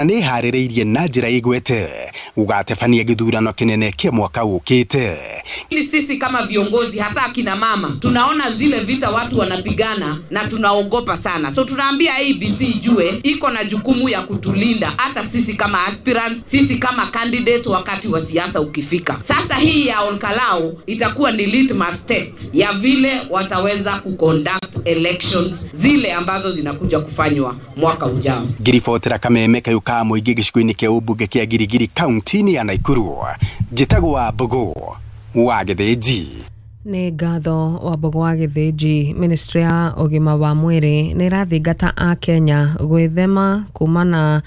Nĩ ĩharĩrĩirie na njĩra igwete gũgatebania gĩthurano kĩnene kĩa mwaka ũkĩte. Ili sisi kama viongozi hasa akina mama tunaona zile vita watu wanapigana na tunaogopa sana, so tunaambia IEBC ijue iko na jukumu ya kutulinda hata sisi kama aspirants, sisi kama candidates wakati wa siasa ukifika. Sasa hii ya Olkalou itakuwa ni litmus test ya vile wataweza kuconduct elections zile ambazo zinakuja kufanywa mwaka ujao. Ngiribotera kameme kayu ka mũingĩ gĩcigo-inĩ kĩa ũmbunge kĩa Girigiri kaunti-inĩ ya Naikuru, njĩtagwo Wambugu wa Gĩthĩnji. Nĩ ngatho Wambugu wa Gĩthĩnji. Ministry ya ũgima wa mwĩrĩ nĩ ĩrathingata a Kenya gwĩthema kumana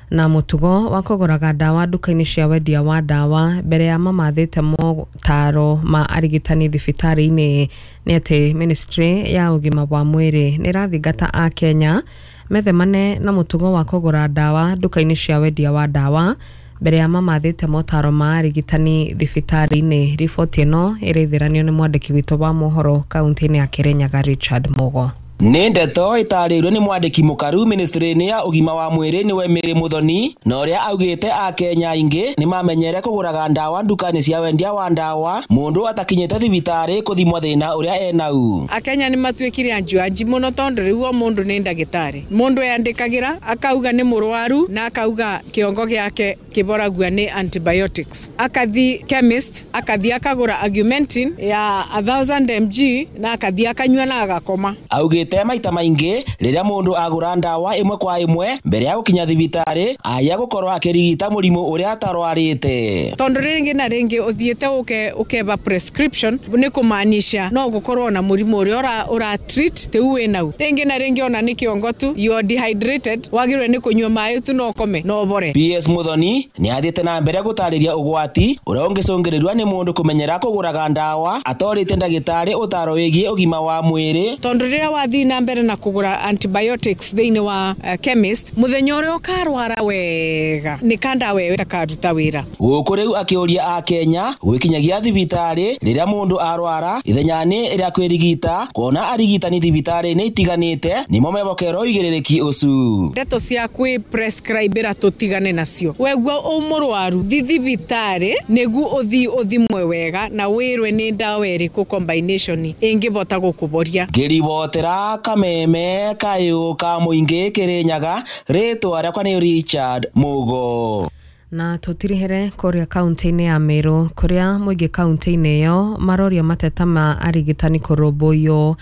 na mũtugo wa kũgũraga ndawa nduka-inĩ cia wendia wa ndawa mbere ya mamathĩte motaro ma arigitani thibitarĩ-inĩ. Nĩ atĩ Ministry ya ũgima wa mwĩrĩ nĩ ĩrathingata a Kenya methemane na mũtugo wa kũgũra ndawa nduka-inĩ cia wendia wa ndawa mbere ya mamathĩte motaro ma arigitani thibitarĩ-inĩ. Riboti ĩno ĩraithĩranio nĩ mwandĩki witũ wa mohoro kaunti-inĩ ya Kirinyaga Richard Mugo. Nĩ ndeto ĩtarĩirio nĩ mwandĩki mũkaru ministry-inĩ ya ũgima wa mwĩrĩ nĩwe Mary Muthoni, na ũrĩa augĩte akenya aingĩ nĩ mamenyere kũgũraga ndawa nduka-inĩ cia wendia wa ndawa mũndũ atakinyĩte thibitarĩ kũthimwo thĩna ũrĩa enau. Akenya nĩ matuĩkire anjuanji mũno tondũ rĩu o mũndũ nĩ ndagĩtarĩ. Mũndũ eyandĩkagĩra akauga nĩ mũrwaru na akauga kĩongo gĩake kĩboragua nĩ antibiotics. Akathi chemist, akathi akagũra Augmentin ya 1000 mg na akathi akanyua na agakoma. Augĩte maita maingĩ rĩrĩa mũndũ agũra ndawa ĩmwe kwa ĩmwe mbere ya gũkinya thibitarĩ aya gũkorwo akĩrigita mũrimũ ũrĩa atarwarĩte. Tondũ rĩngĩ na rĩngĩ ũthiĩte ũkeba prescription nĩ kũmaanisha no gũkorwo na mũrimũ ũrĩa ũra treat rĩu wĩnau. Rĩngĩ na rĩngĩ ona nĩ kĩongo tu, you are dehydrated, wagĩrĩirwo nĩ kũnyua maĩ tu na ũkome na ũbore. PS Muthoni nĩ athiĩte na mbere gũtarĩria ũgwati ũrĩa ũngĩcũngĩrĩrio nĩ mũndũ kũmenyera kũgũraga ndawa atorĩte ndagĩtarĩ ũtaro wĩgiĩ ũgima wa mwĩrĩ. Tondũ rĩrĩa wathiĩ na mbere na kũgũra antibiotics thĩinĩ wa chemist, mũthenya ũrĩa ũkarwara wega nĩ kanda wewe takaruta wĩra. Gũkũ rĩu akĩũria akenya gwĩkinyagia thibitarĩ rĩrĩa mũndũ arwara ithenya-inĩ rĩa kwĩrigita, kuona arigitani thibitarĩ-inĩ itiganĩte nĩmo mebokerwo ũigĩrĩrĩki ũcu. Ndeto cia kwĩ prescribera tũtigane nacio. Wegua ũ mũrwaru thi thibitarĩ nĩguo ũthi ũthimwe wega na wĩrwe nĩ ndawa ĩrĩkũ combination ĩngĩbota gũkũboria. Ngĩribotera kameme kayũ ka mũingĩ Kirinyaga, rĩtwa rĩakwa nĩ Richard Mugo. Na tũtirihere kũrĩa kaunti-inĩ ya Meru kũrĩa mũingĩ kaunti-inĩ ĩyo maroria mateta ma arigitani kũrũmbũiyo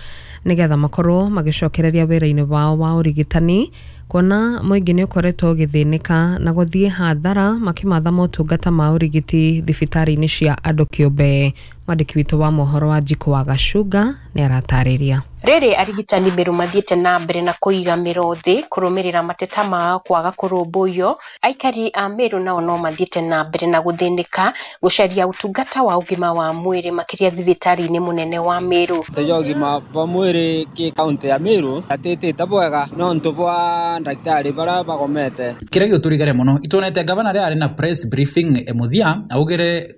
nĩgetha makorwo magĩcokereria wĩra-inĩ wao wa ũrigitani, kuona mũingĩ nĩ ũkoretwo ũgĩthĩnĩka na gũthiĩ hathara makĩmatha motungata ma ũrigiti thibitarĩ-inĩ cia andũ kĩũmbe. Mwandĩki witũ wa mohoro wa Njikũ wa Gacunga nĩ aratarĩria. Rĩrĩ arigitani Meru mathiĩte na mbere na kũiga mĩro thĩ kũrũmĩrĩra mateta mao kwaga kũrũmbũiyo, aikari a Meru nao no mathiĩte na mbere na gũthĩnĩka gũcaria ũtungata wa ũgima wa mwĩrĩ makĩria thibitarĩ-inĩ mũnene wa Meru. Tejo ũgima wa mwĩrĩ kĩ kaunti ya Meru atĩtĩte bwega no ntũ bwa ndagĩtarĩ bara bagomete. Kĩrĩa gĩũtũrigare mũno itonete gavana rĩa arĩ na press briefing mũthia augire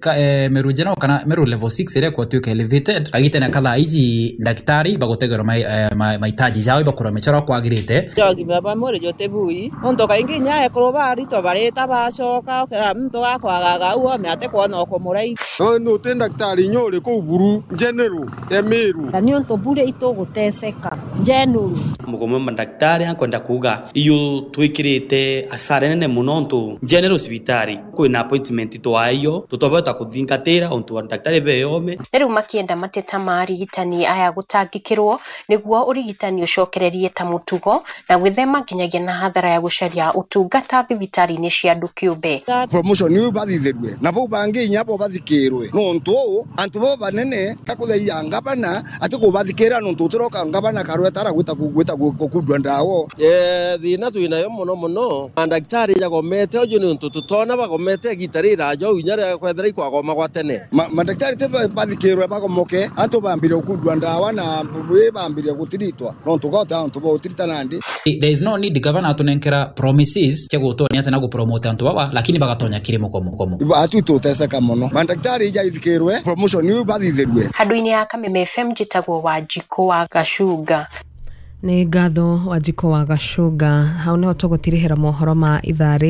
Meru General kana Meru level 6 ĩrĩa kwatuĩka elevated agite na kathaa ici ndagĩtarĩ bagotegera mahitaji jao ibakura mechoro kwagirite. Jogi ba mwere jote bui onto kaingi nyae ko bari to bareta bacoka mto gakwagaga uo meate kuona ko murai no no te daktari nyore ko buru general emeru na ni onto bure itoguteseka general mugomo daktari akwenda kuga iyo twikirite asare nene muno ntu general hospitali kwina appointment twayo tutobota kuthingatira ontu daktari beyome. Rĩu makienda mateta ma arigitani aya gũtangĩkĩrwo nĩguo ũrigitani ũcokererie ta mũtugo na gwĩthema nginyagia na hathara ya gũcaria ũtungata thibitarĩ-inĩ cia andũ kĩũmbe. Promotion niyo bathithirwe na bau bangi nyapo bathikirwe no ntu antu bo banene kakutheia ngabana ati kubathikira no ntu turoka ngabana karwe tara gwita gwita gukundwa ndawo thina twinayo muno muno mandagitari jagomete ojo ni ntu tutona bagomete gitari rajo inyare kwethera ikwagoma gwa tene mandagitari te bathikirwe bagomoke antu bambire gukundwa ndawa na bambire gutiritwa no ntugota antu bo utirita nandi. There is no need governor atunenkera promises cia gutonya ati na gupromote antu baba lakini bagatonya kirimo komo komo atu tuteseka muno mandagitari jaithikirwe promotion ni bathithirwe. Handu-inĩ ya Kameme FM njĩtagwo Wanjikũ wa Gacunga. Nĩ ngatho Wanjikũ wa Gacũnga. Hau nĩho tũgũtirihĩra mohoro ma ithaa rĩrĩ.